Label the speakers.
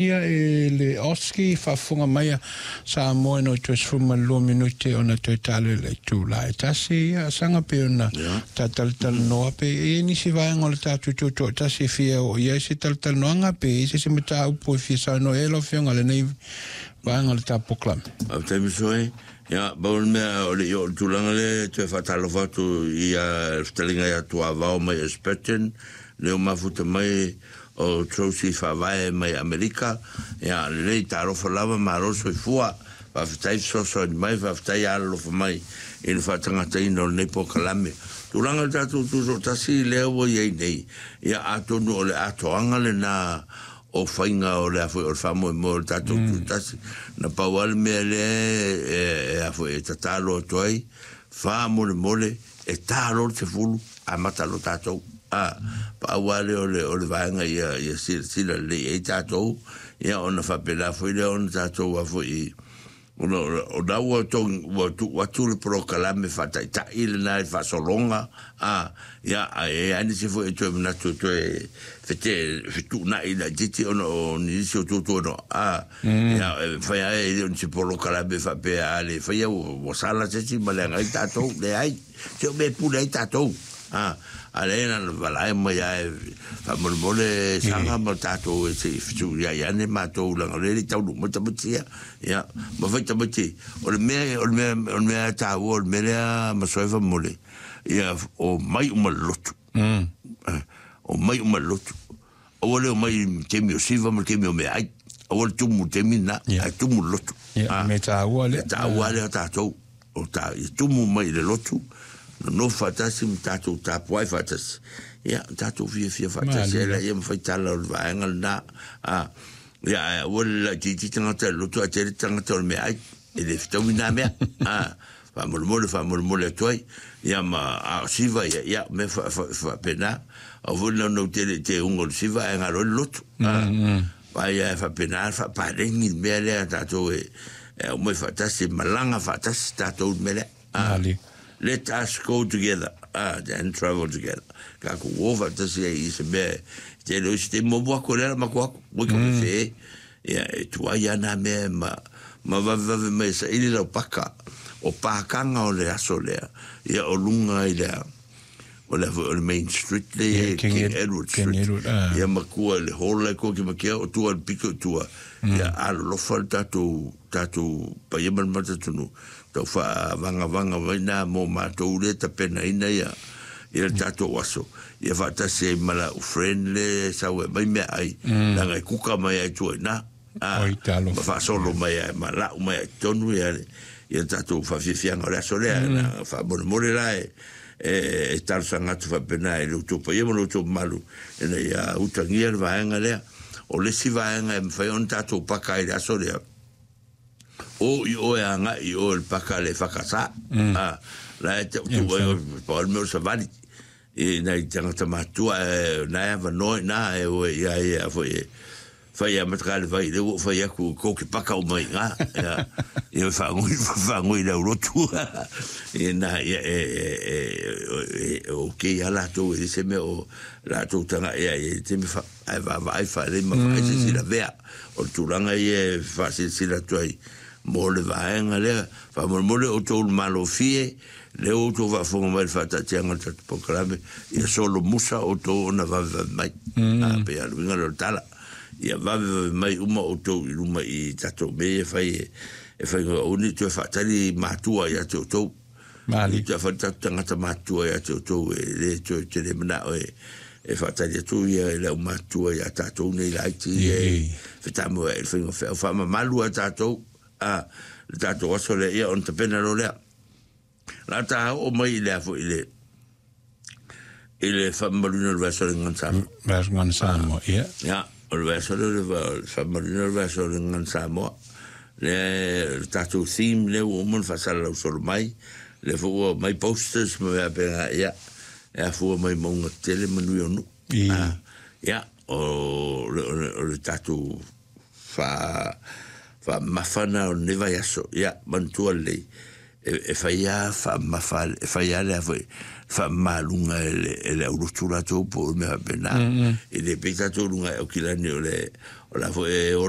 Speaker 1: Ia e le OSCE faafofoga mai a Samoa ina ua toe 12 minute ona toe talo i le itula e 1. Ia saga pei ona ta talatalanoa pe e i ai nisi vaega o le tatou tutoatasi e fia oo i ai se talatalanoaga pe i ai se isi mataupu e fia saunoa i ai lau Afioga i lenei vaega o le ta polokalame.
Speaker 2: Faafetai Masoe. Ia, pau le mea o le i oo i le tulaga lea e toe faatalofa atu i le fetalaiga ia Tuavao mai Esperton, lea ua mafuta mai O Josie Faavae mai Amerika, ia lelei talofa lava malo soifua, faafetai fesoasoani mai, faafetai alolofa mai i le faatagataina o lenei polokalame. Tulaga o le tatou tutoatasi lea ua i ai nei, ia atonu o le atoaga lena o faiga o le a foi o le faamoemoe o le tatou tutoatasi. Na pau lava le mea lea e a foi e tatalo atu ai, faamolemole e ta loa le 10 amata loa tatou. A, pau lava lea o le, o le vaega ia, ia silasila lelei i ai tatou, ia ona faapena foi lea ona tatou a foi, ona o la ua togi, ua tuu atu le polokalame faataitai lena i le faasologa, a, ia, ae i ai lava nisi foi e toe manatu e toe fete, fetuunai laitiiti ona o nisi o tuatuanoa, a, ia, e mafai lava e le o ni se polokalame faapea a le faia ua, ua sala se isi ma leaga ai tatou, leai. Se o mea e pule ai tatou. A, a lea na ona valae mai lava e faamolemole saga ma tatou e se i fesuiai ane matou leaga o lea e le i taunuu mai tamaiti ia. Ia, ma fai tamaiti, o le mea, o le mea, o le mea taua, o le mea lea Masoe faamolemole, ia omai uma i le lotu. Omai uma i le lotu. Aua le omai i le taimi o siva ma le taimi o meaai. Aua le tumu i le taimi lena, ae tumu i le lotu.
Speaker 1: Ia, mea taua lea.
Speaker 2: Mea taua lea o tatou. O ta, ia tumu mai i le lotu, nonofo faatasi ma tatou tapuai faatasi. Ia, tatou fiafia faatasi ai laia ma fai tala o le vaega lena. A, ia, ae aua le laitiiti tagata i le lotu ae tele tagata o le meaai. E le fetaui na mea. A, faamolemole, faamolemole atu ai. Ia ma, a o siva ia, ia, mea faapena. Aua foi le naunau tele i teuga o le siva ae galo ai le lotu. A, Vai ae faapena le faapaleni le mea lea tatou e aumai faatasi, e malaga faatasi tatou i le mea lea.
Speaker 1: Malie.
Speaker 2: Let us go together and travel together. Tatou o faatasi ai i se mea e tele o isi taimi muamua atu o lea la matou atu, oi ka fefe e. Ia e tuai lava na mea ma ma vavevave mai e saili lau paka o pakaga o le aso lea, ia o luga i le a. O le a foi o le main street le
Speaker 1: Yeah,
Speaker 2: King,
Speaker 1: King
Speaker 2: Ed, Edward Street.
Speaker 1: King Edward, ah.
Speaker 2: Ia matua i le hall lai koa ki makia o tua le pito i tua. Ia alolofa le tatou tatou paia ma le matatunu. Tau whaavangavanga mai nā mō mātou le tapenaina ia ia le tatou aso. Ia whaatasi ai ma lau friend le sau e mai mea ai. Leaga e kuka mai ai tua i nā.
Speaker 1: Oi, talofa.
Speaker 2: Ma faasolo mai ai ma lau mai ai totonu ia le ia tatou faafiafiaga o le aso lea. Na faamolemole la e e talosaga atu faapena i lo outou paia ma lo outou mamalu ina ia utagia le vaega lea. O le isi vaega e mafai ona tatou paka ai i le aso lea, o i oe agai i oe le paka le whakasa. La e te tu ai o pa o le mea o savali. I nai tangata matua e nai avanoa ina e oe ia ia foi e Whai a matakale whai le ua whai aku ko ke paka o mai ngā. Ia, ia whaangoi, whaangoi lau rotu. Ia nā, ia e, e, e, e, e, o ke ia lātou e se mea o lātou tanga ia e te me wha, ai wha wha ai wha lei ma wha ai se sila vea. O le tūranga ia e whaasilasila atu ai mō le vaega lea. Faamolemole outou le malofie, lea ua outou faafofoga mai i le faataatiaga o le tatou polokalame, ia solomusa outou ona vavevave mai. A, pei a le uiga lea o le tala. Ia vavevave mai uma outou i luma i tatou mea ia e fai e fai aua ne i toe faatali matua ia te outou.
Speaker 1: Malie.
Speaker 2: I toe fai tatou tagata matutua ia te outou e le toe tele manao e e faatali atu ia i le aumatutua ia tatou nei laiti e fetamoea'i i le faiga feau. Faamamalu a tatou, a, le tatou aso lea, ia ona tapena loa lea. La ta oo mai i le a foi i le i le faamamaluina o le vaiaso o le Gagana Samoa.
Speaker 1: Vaiaso Gagana Samoa, ia.
Speaker 2: Ia, o le vaiaso lea o le faamamaluina o le vaiaso o le Gagana Samoa. Lea le tatou theme lea ua uma ona faasalalau solo mai, lea foi ua aumai posters ma mea faapena, ia, e afua mai mauga tetele ma nui o nuu. Ia, o le tatou faamamafa lena o lenei vaiaso, ia, manatua lelei. E faia faamamafa e faia le foi faamamaluga e le aulotu latou po o mea faapena. E le pei tatou luga e Aukilani o le o la foi e o le.